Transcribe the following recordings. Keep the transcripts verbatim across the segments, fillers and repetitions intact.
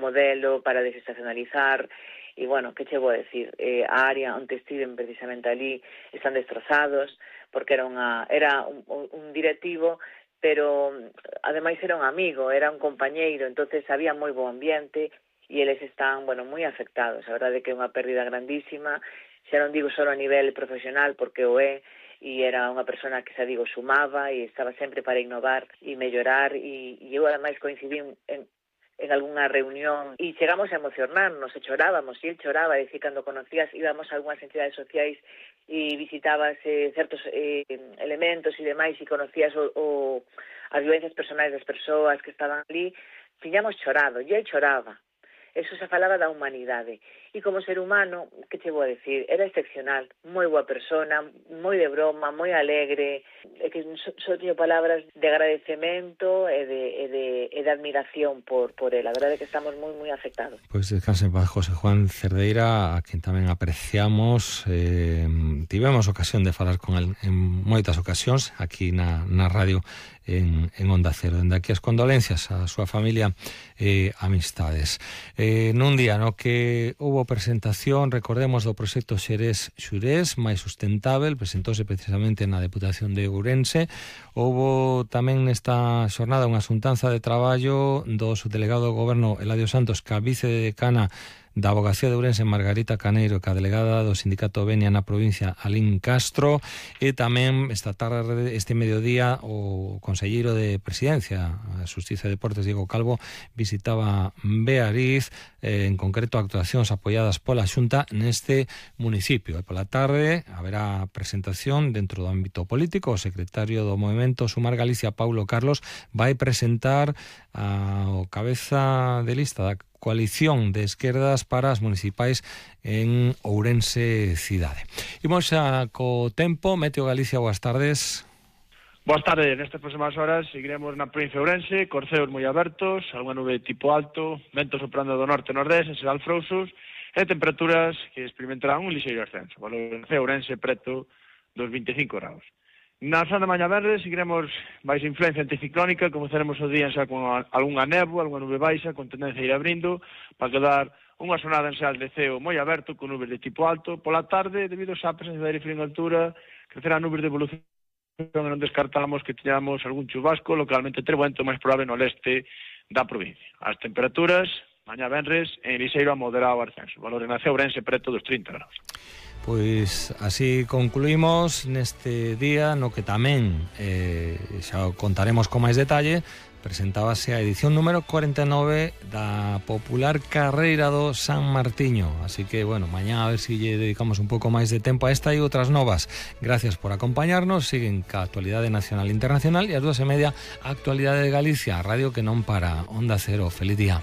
modelo para desestacionalizar. E, bueno, que che vou decir? Eh, a área onde estiven precisamente ali están destrozados, porque era unha era un, un directivo, pero ademais era un amigo, era un compañeiro, entonces había moi bo ambiente e eles están, bueno, moi afectados. A verdade é que é unha pérdida grandísima, xa non digo só a nivel profesional, porque o é, e era unha persona que, xa digo, sumaba e estaba sempre para innovar e mellorar, e, e eu ademais coincidí en en algunha reunión e chegamos a emocionarnos e chorábamos, e el choraba, e dicir, cando conocías, íbamos a algunhas entidades sociais e visitabas eh, certos eh, elementos e demais, e conocías o, o, as vivencias personais das persoas que estaban ali, tiñamos chorado, e el choraba. Eso se falaba da humanidade. E como ser humano, que che vou a decir, era excepcional, moi boa persona, moi de broma, moi alegre, e que só so teño palabras de agradecemento e de, e de, e de admiración por, por él. A verdade é que estamos moi, moi afectados. Pois descanse en paz, José Juan Cerdeira, a quen tamén apreciamos. Eh, tivemos ocasión de falar con el en moitas ocasións aquí na, na radio en, en Onda Cero. Dende aquí as condolencias á súa familia e eh, amistades. Eh, nun día no que houbo presentación, recordemos, do proxecto Xerés Xurés máis sustentável, presentouse precisamente na Deputación de Ourense. Houbo tamén nesta xornada unha xuntanza de traballo do subdelegado do Goberno Eladio Santos, que a vicedecana da Avogacía de Ourense, Margarita Caneiro, que a delegada do Sindicato Venia na provincia, Alín Castro, e tamén esta tarde, este mediodía, o conselleiro de Presidencia, a Xustiza e Deportes, Diego Calvo, visitaba Beariz, eh, en concreto actuacións apoiadas pola Xunta neste municipio. E pola tarde haberá presentación dentro do ámbito político. O secretario do Movemento Sumar Galicia, Paulo Carlos, vai presentar ao cabeza de lista da coalición de esquerdas para as municipais en Ourense cidade. Imos xa co tempo. Meteo Galicia, boas tardes. Boas tardes. Nestas próximas horas seguiremos na provincia de Ourense, corceos moi abertos, algunha nube tipo alto, ventos soprando do norte e nordeste, serán frouxos, e temperaturas que experimentarán un lixeiro ascenso. Valor de Ourense preto dos vinte e cinco graus. Na zona de mañá verde seguiremos máis influencia anticiclónica, comezaremos o día xa con algunha néboa, algunha nube baixa, con tendencia a ir abrindo, para quedar unha xornada en xeral de ceo moi aberto, con nubes de tipo alto. Pola tarde, debido xa a presencia de aire frío en altura, crecerán nubes de evolución, e non descartamos que teñamos algún chubasco, localmente trebento, máis probable no leste da provincia. As temperaturas, mañá venres, en lixeiro a moderado ascenso. Valor en Ourense preto dos trinta graus. Pois así concluímos neste día no que tamén eh, xa contaremos con máis detalle. Presentábase a edición número cuarenta e nove da popular carreira do San Martiño. Así que, bueno, mañá a ver si lle dedicamos un pouco máis de tempo a esta e outras novas. Gracias por acompañarnos. Siguen ca actualidade nacional e internacional, e as dúas e media a actualidade de Galicia, a radio que non para. Onda Cero, feliz día.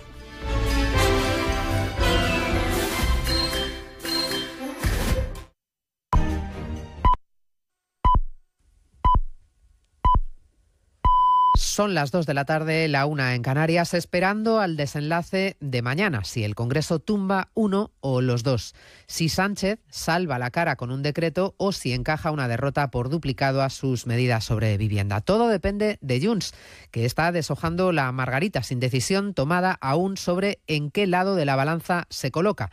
Son las dos de la tarde, la una en Canarias, esperando al desenlace de mañana, si el Congreso tumba uno o los dos, si Sánchez salva la cara con un decreto o si encaja una derrota por duplicado a sus medidas sobre vivienda. Todo depende de Junts, que está deshojando la margarita sin decisión tomada aún sobre en qué lado de la balanza se coloca.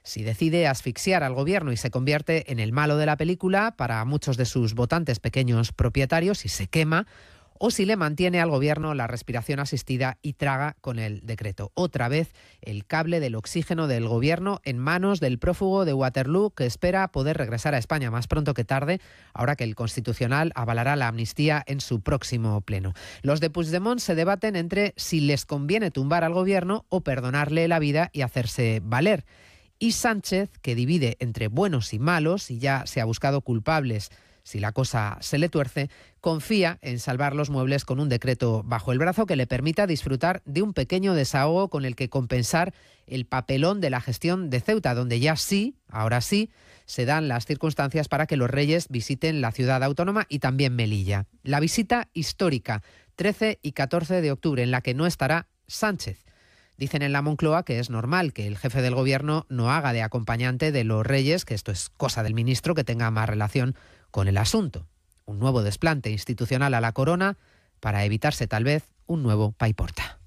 Si decide asfixiar al gobierno y se convierte en el malo de la película para muchos de sus votantes pequeños propietarios y se quema, o si le mantiene al gobierno la respiración asistida y traga con el decreto. Otra vez el cable del oxígeno del gobierno en manos del prófugo de Waterloo, que espera poder regresar a España más pronto que tarde, ahora que el Constitucional avalará la amnistía en su próximo pleno. Los de Puigdemont se debaten entre si les conviene tumbar al gobierno o perdonarle la vida y hacerse valer. Y Sánchez, que divide entre buenos y malos y ya se ha buscado culpables si la cosa se le tuerce, confía en salvar los muebles con un decreto bajo el brazo que le permita disfrutar de un pequeño desahogo con el que compensar el papelón de la gestión de Ceuta, donde ya sí, ahora sí, se dan las circunstancias para que los reyes visiten la ciudad autónoma y también Melilla. La visita histórica, trece y catorce de octubre, en la que no estará Sánchez. Dicen en la Moncloa que es normal que el jefe del gobierno no haga de acompañante de los reyes, que esto es cosa del ministro que tenga más relación con el asunto. Un nuevo desplante institucional a la corona para evitarse tal vez un nuevo paiporta.